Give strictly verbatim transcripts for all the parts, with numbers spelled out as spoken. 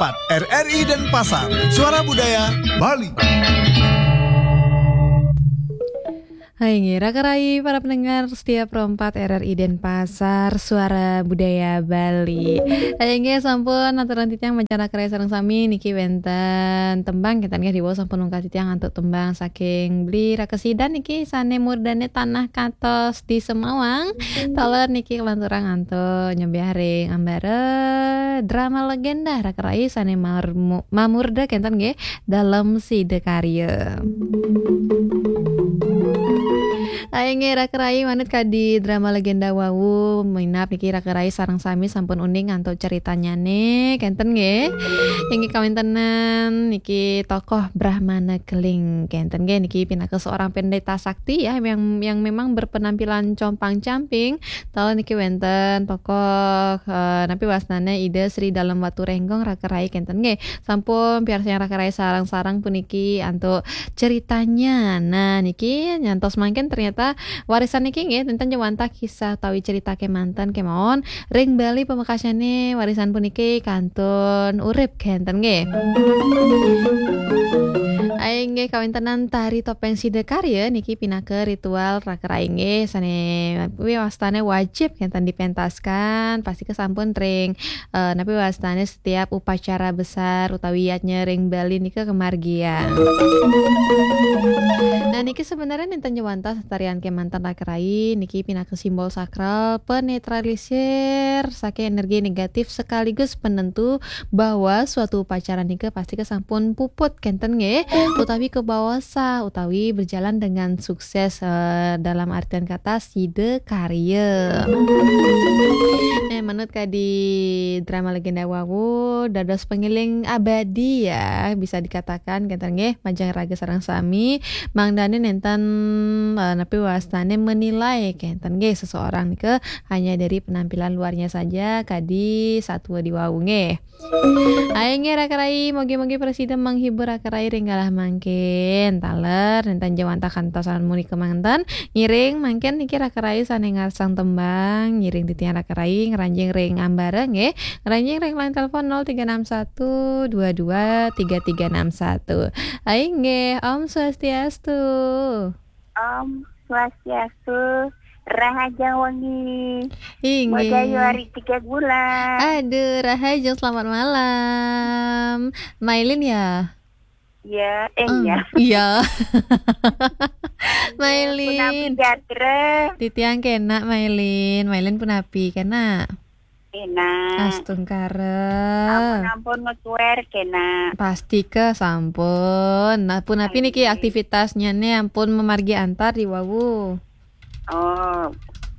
empat R R I Denpasar, Suara Budaya Bali. Hai nggih, Raka Rai, para pendengar setia Pro empat R R I Denpasar, Suara Budaya Bali. Hai nggih, sampun aturan titiang mancan Raka Rai sareng sami niki wénten tembang, kénten nggih, diwau sampun ungkap titiang antuk tembang saking Bli Rakesidan niki sané murdané Tanah Katos di Semawang. Taler niki kalanturang antuk nyembiah ring ambara drama legenda Raka Rai sané marmu-, mamurda kénten nggih, Dalem Sida Karya. Ai nggih, Raka Rai, manut kadi drama legenda wau, minab niki Raka Rai sareng sami sampun uning antuk ceritanyané, kénten nggih. Inggih kawéntenan niki tokoh Brahmana Keling, kénten nggih, niki pinaka seorang pendeta sakti ya, yang, yang memang berpenampilan compang-camping. Taler niki wénten tokoh, eh, napi wastané Ida Sri Dalem Waturénggong, Raka Rai, kénten nggih. Sampun piarsayang Raka Rai sareng-sareng puniki antuk ceritanya. Nah, niki nyantos mangkin ternyata warisan niki nggih, nénten ja wantah kisah utawi cerita kémanten kémaon ring Bali pamekasnyané warisan puniki kantun urip kénten nggih. Ai nggih, kawéntenan tari topéng Sida Karya niki pinaka ritual Raka Rai nggih, sané napi wastané wajib kénten dipentaskan, pastika sampun ring, eh, napi wastané setiap upacara besar utawi yadnya ring Bali nika kamargiang. Nah, niki sebenarnya nénten ja wantah tarian kémanten Raka Rai, niki pinaka simbol sakral penetralisir saking energi negatif sekaligus penentu bahwa suatu upacara nika pastika sampun puput kénten nggih, utawi kabawa sah, utawi berjalan dengan sukses, eh, dalam artian kata sida karya. Nah, manut kadi drama legenda wau, dados pangiling abadi ya, bisa dikatakan kénten nggih, majeng raga sareng sami, mangdané nénten, eh, napi wastané menilai kénten nggih, seseorang nika hanya dari penampilan luarnya saja, kadi satua di wau nggih. Ai nggih Raka Rai, mugi-mugi prasida menghibur Raka Rai ring galah mangkin. Taler, nénten ja wantah kantos sapunika manten. Ngiring mangkin niki Raka Rai sané ngarsang tembang, ngiring titiang Raka Rai ngranjing ring ambara nggih. Ngranjing ring line telepon nol tiga enam satu dua dua tiga tiga enam satu. Ai nggih, Om Swastiastu. Om Swastiastu, rahajeng wengi. Inggih. Modayu ari tiga bulan. Aduh, rahajeng selamat malam. Mailin ya? Iya, eh, hmm, iya. Iya. Mailin. Punapi gatra? Titiang kénak, Mailin. Mailin punapi, kénak? Enak. Astungkara. Ampun, ampun, ngesuer kena. Pastika sampun. Nah, punapi niki, amin, aktivitasnya nih ampun memargi antar di wawu? Oh,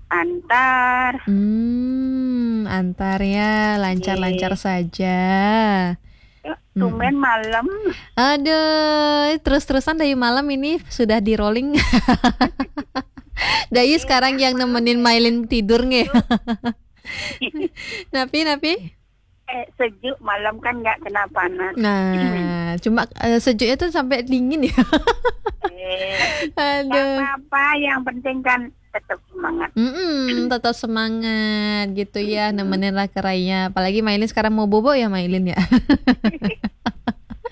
antar. Hmm, antar ya, lancar-lancar saja. Yuk, hmm, tumben malam. Aduh, terus-terusan dari malam ini sudah di rolling. Dayu sekarang yang nemenin Mailin tidur nggih. Napi, napi? Eh, sejuk, malam kan nggak kena panas. Nah, cuma, eh, sejuknya tuh sampai dingin ya. Eh, aduh. Nggak apa-apa, yang penting kan tetap semangat. Mm-mm, tetap semangat gitu ya, nemenin Raka Rai-nya. Apalagi Mailin sekarang mau bobo ya, Mailin ya.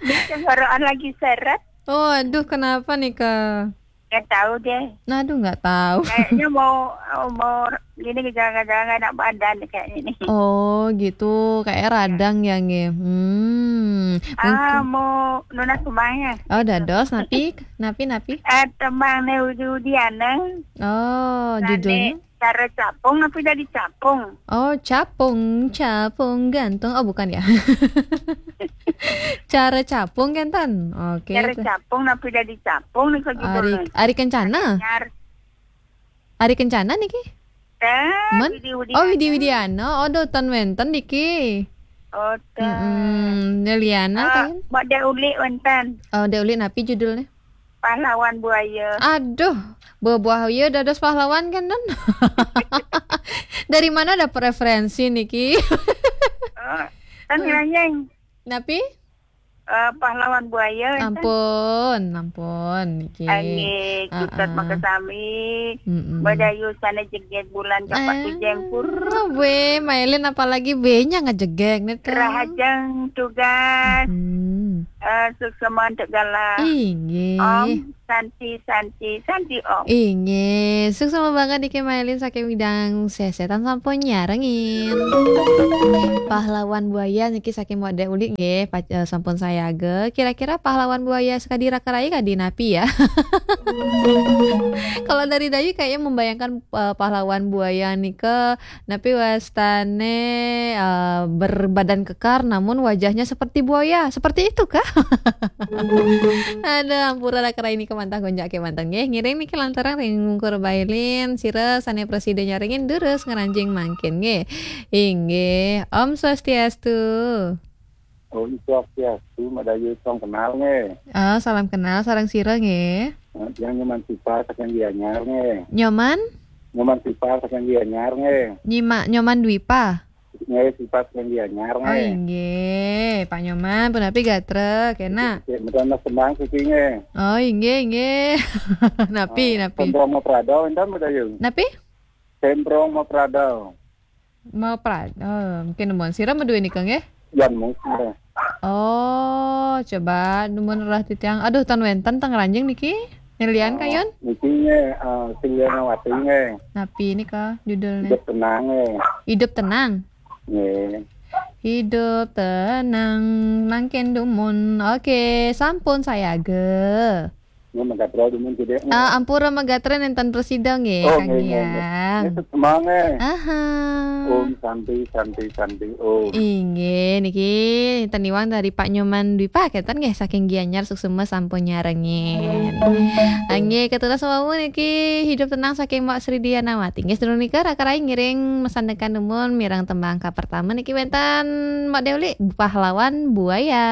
Ini tenggorokan lagi seret. Oh, aduh, kenapa nih, Kak? Nggak tahu deh. Aduh, nggak tahu. Kayaknya mau, mau gini, gejala-gejala nggak enak badan kayaknya nih. Oh, gitu. Kayak radang ya, nggih. Hmm. Ah, mungkin mau nunas tembangnya. Oh, dados, napi, napi, napi? Eh, tembang né Udi Udiana. Oh, judulnya? Cara capung, napi dadi capung? Oh, capung, capung gantung. Oh, bukan ya. Cara capung, kénten. Oke. Cara capung, napi dadi capung nih, Kak, ari, judulnya. Ari Kencana? Ari Kencana niki? Tah, men? Widi Widiana. Oh, Widi Widiana. Oh, duh, ten wénten niki. Oh, tah. Mm-mm. Né Liana, eh, kan? Mbak Dek Ulik wénten. Oh, Dek Ulik napi judulnya? Pahlawan Buaya. Aduh, buah-buah ya dados pahlawan kan, Don? Dari mana ada preferensi niki? Oh, kan ngeranjing. Napi? eh, pahlawan buaya, kan? Ampun, ampun, niki. Anggih, Ustaz Makasami. Mm-mm. Madayu sana jeget bulan kapak Ah, tujeng pur. Weh, Mailin apalagi benya ngejegek nih, Kang. Rahajeng tugas. Mm-mm. Eh, suksema untuk galah. Inggih. Om Santi, Santi, Santi, Om. Inggih, suksema banget niki Mailin saking Widang Sesetan sampun nyarengin. Pahlawan buaya niki saking Mode Uli nggih, pac-, eh, sampun sayaga. Kira-kira pahlawan buaya sakadi Raka Rai kadi napi ya? Kalau dari Dayu kayaknya membayangkan, eh, pahlawan buaya nika napi wastane, eh, berbadan kekar namun wajahnya seperti buaya. Seperti itu kah? Aduh, ampura Raka Rai niki mantah gonjak kemanten nggih. Ngiring niki lantaran ring Ungkur Bailin, sira sane prasida nyarengin durus ngranjing mangkin nggih. Inggih, Om Swastiastu. Om Swastiastu, Madayu, song kenal nggih. Ah, salam kenal, sareng sira nggih. Eh, tiang Nyoman Sipa saking Gianyar nggih. Nyoman? Nyoman Sipa saking Gianyar nggih. Nyima-, Nyoman Dwipa? Nggih, Sipa saking Gianyar nggih. Oh, inggih, Pak Nyoman, punapi gatra, kena? Nggih, nggih, mboten mas tembang siki nggih. Oh, inggih, inggih. Napi, eh, napi? Sembrong Maprado, enten, Madayu? Napi? Sembrong Maprado. Maprado, oh, mungkin nemuan sira maduwe nika nggih? Yan mungkin. Oh, coba nemuan rerah titiang. Aduh, tan wenten teng ranjing niki. Nelian, oh, kayun? Niki nggih, eh, Sing Lianawati nggih. Napi nika judulnya? Hidup Tenang nggih. Hidup Tenang? Nggih. Hidup tenang, mangkin dumun. Oke, sampun sayaga. Nggih, Megatro dumun cedek. Ah, ampura Megatro nenten prasida nggih, oh, Kang nggih, nggih, nggih. Hyang. Nggih, semangat. Aha. Om Santi, Santi, Santi, Om. Inggih, niki teniwang dari Pak Nyoman Dwipa, kenten nggih, saking Gianyar, suksema sampun nyarengin. Inggih, ketunas wau niki Hidup Tenang saking Mbak Sri Dianawati. Nggih, sedurung nika Raka Rai ngiring mesandekan dumun mireng tembang ka pertama niki wenten Mbak Deuli, Pahlawan Buaya.